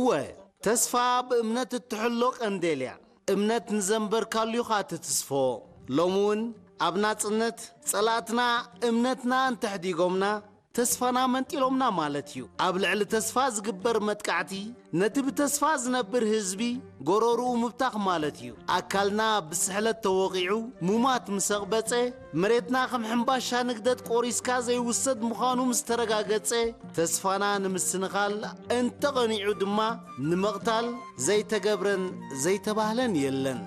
እወ፣ ተስፋ ብእምነት እትሕሎ ቀንዴል እያ። እምነት ንዘንበርካሉ ኢኻ ትትስፎ። ሎሚ እውን ኣብ ናጽነት ጸላእትና እምነትና እንተሕዲጎምና፣ ተስፋና መንጢሎምና ማለት እዩ። ኣብ ልዕሊ ተስፋ ዝግበር መጥቃዕቲ፣ ነቲ ብተስፋ ዝነብር ህዝቢ ጎረርኡ ምብታኽ ማለት እዩ። ኣካልና ብስሕለት ተወቒዑ፣ ሙማት ምስ ኣቕበጸ፣ መሬትና ከም ሕምባሻ ንግደት ቆሪስካ ዘይውሰድ ምዃኑ ምስ ተረጋገጸ፣ ተስፋና ንምስንኻል እንተቐኒዑ ድማ፣ ንምቕታል ዘይተገብረን ዘይተባህለን የለን።